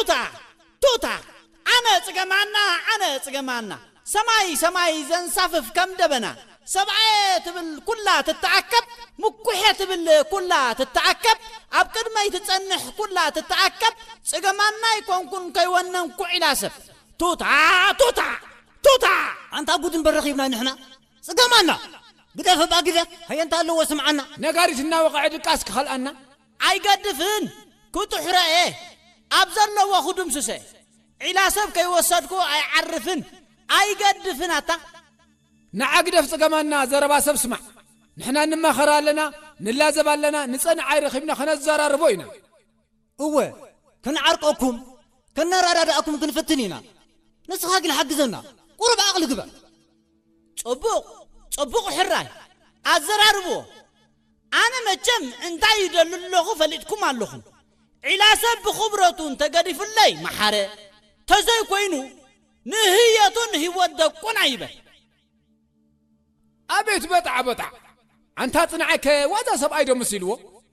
ቱታ ቱታ ኣነ ጽገማና ኣነ ጽገማና ሰማይ ሰማይ ዘንሳፍፍ ከም ደበና ሰብኣየ ትብል ኩላ ትተኣከብ ምኩሐ ትብል ኩላ ትተኣከብ ኣብ ቅድመይ ትጸንሕ ኩላ ትተኣከብ ጽገማና ኣይኮንኩን ከይወነንኩ ዒላ ሰብ ቱታ ቱታ ቱታ ኣንታ ጉድ እምበር ረኺብና ንሕና ጽገማና ግደፍ እባ ግደፍ ሃየ እንታ ኣለዎ ስምዓና ነጋሪት እናወቕዐ ድቃስ ክኸልኣና ኣይገድፍን ክጥሕሮ እየ ኣብ ዘለዎ ክድምስሰ ዒላ ሰብ ከይወሰድኩ ኣይዓርፍን ኣይገድፍን ኣታ ንዓ ግደፍ ጽገማና ዘረባ ሰብ ስማዕ ንሕና ንማኸር ኣለና ንላዘብ ኣለና ንጸንዓይ ረኺብና ከነዘራርቦ ኢና እወ ክንዓርቀኩም ከነራዳዳእኩም ክንፍትን ኢና ንስኻ ግን ሓግዘና ቁሩብ ዓቕሊ ግበር ጽቡቕ ጽቡቕ ሕራይ ኣዘራርብዎ ኣነ መቸም እንታይ ይደሉ ኣለኹ ፈሊጥኩም ኣለኹም ዒላ ሰብ ብኽብረቱ እንተገዲፉለይ መሓረ ተዘይኮይኑ ንህየቱን ህይወት ደቁን ኣይበል ኣቤት በጣዕ በጣዕ ኣንታ ጽንዓይከ ዋዛ ሰብኣይ ዶ መሲልዎ